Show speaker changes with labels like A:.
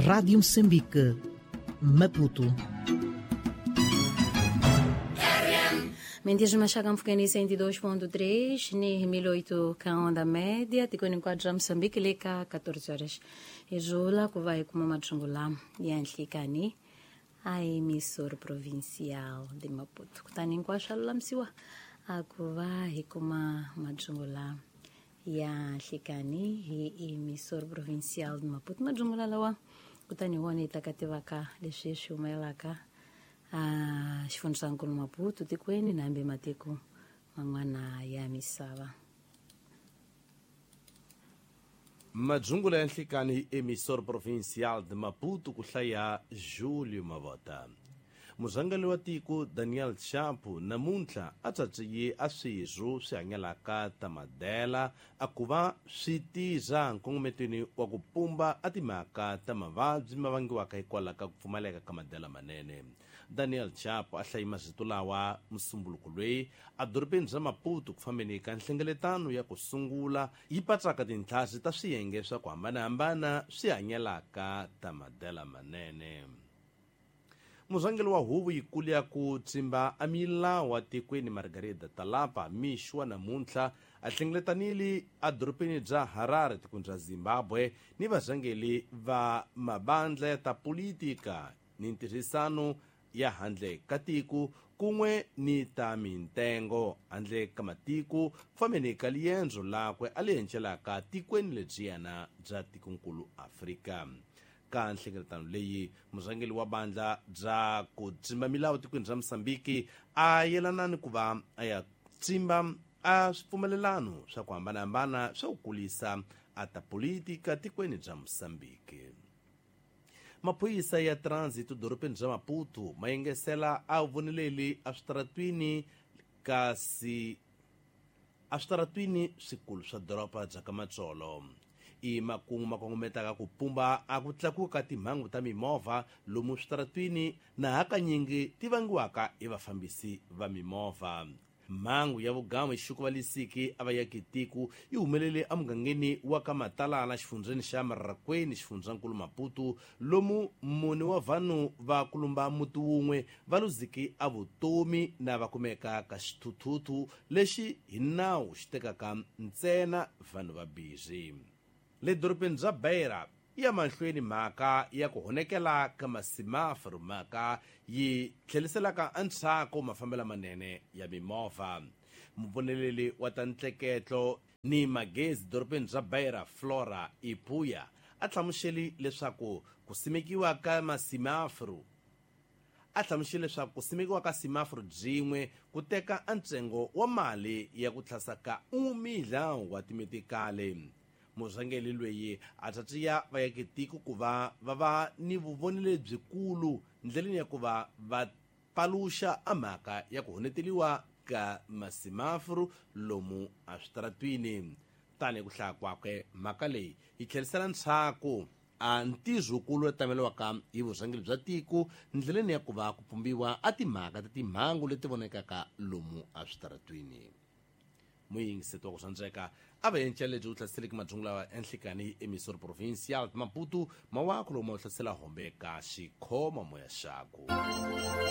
A: Rádio Moçambique, Maputo.
B: Mendias mashaka mfukeni 102.3 ni 1008 ka onda média tikweni hinkwabyo bya Moçambique le ka 14 horas izvula ku va hi kuma mathungu lama ya nhlikani a emissora provincial de Maputo kutani hinkwaswo swa lulamisiwa a ku va hi kuma mathungu lama ya nhlikani hi emissora provincial de Maputo mathungula lawa kutani hi wona hi ta ka tivaka leswi swi humelelaka a xifundzankulu Maputo tikweni na hambi matiko man'wana ya misava.
C: Madzungula ya nhlikani hi emissora provincial de Maputo ku hlaya Julio Mavota. Murhangeri wa tiko Daniel Chapo namuntlha a tsatsiye a swirho swi hanyalaka ta madela a ku va swi tirha nkongometweni wa ku pumba a timhaka ta mavabyi ma vangiwaka hikwalaho ka ku pfumaleka ka madela manene. Daniel Chapo a hlayi mazito lawa musumbuluko loyi edorobeni bya Maputo ku fambeni ka nhlengeletano ya ku sungula yi patsaka tintlhasi ta swiyenge swa ku hambanahambana swi hanyelaka ta madela manene. Murhangeri wa huvo yikulu ya ku tsimba a milawu wa tikweni Margarida Talapa mixo wa namuntlha a hlengeletanile edorobeni bya Harare tikweni ra Zimbabwe ni varhangeri va mabandla ya ta politika ni ntirhisano ya handle ka tiko kun'we ni ta mintengo handle ka matiko fambeni ka liendzo lakwe a li encelaka tikweni lebyiyana bya tikonkulu Afrika. Ka nhlengeletano leyi murhangeri wa bandla bya ku tsimba milawu tikweni ra Mozambique a yelana ni ku va a ya tsimba a swipfumelelano swa ku hambanahambana swa ku kulisa a ta politika tikweni bya Mozambique. Maphorisa ya transit dorobeni bya Maputo ma yengesela a voneleli eswitaratwini kasi eswitaratwini swikulu swa doroba bya ka Matsolo. I makungu ma kongometaka ku pumba a ku tlakuka ka timhangu ta mimovha lomu switaratwini na hakanyingi ti vangiwaka hi vafambisi va mimovha. Mhangu ya vugamu hi xikuvalisiki a va yaki tiko yi humelele emugangeni wa ka Matalala xifundzheni xa Marrakweni xifundzankulu Maputo lomu mune wa vanhu va kulumba muti wun'we va luziki a vutomi na va kumeka ka xithuthuthu lexi hi nawu xi tekaka ntsena vanhu va bizi. Le dorobeni bya Beira ya mahlweni mhaka ya ku honekela ka masimaforo mhaka yi tlheliselaka endzhaku mafambelo manene ya mimovha. Muvoneleli wa ta ntleketlo ni magezi dorobeni bya Beira Flora Ipuya a hlamuseli leswaku ku simekiwa ka masimaforo a hlamusele leswaku ku simekiwa ka simaforo byin'we ku teka ntsengo wa mali ya ku tlhasaka umidla wa timetikali. Murhangeri loyi a tatiya va yaki tiko ku va va va ni vuvoni lebyikulu ndleleni ya ku va va paluxa a mhaka ya ku honeteliwa ka masimaforo lomu eswitaratwini. Tanihi ku hlaya kwakwe mhaka leyi yi tlherisela ndzhaku a ntirhokulu lowu tameriwaka hi vurhangeri bya tiko ndleleni ya ku va ku pumbiwa a timhaka ta timhangu leti vonekaka lomu eswitaratwini. Muyingiseti wa ku rhandzeka a va encela lebyi u hlaseleke madyongo lawa enhlikani emissora provincial Maputo mawako lomu u hlasela hombe ka xikhoma moya xaku.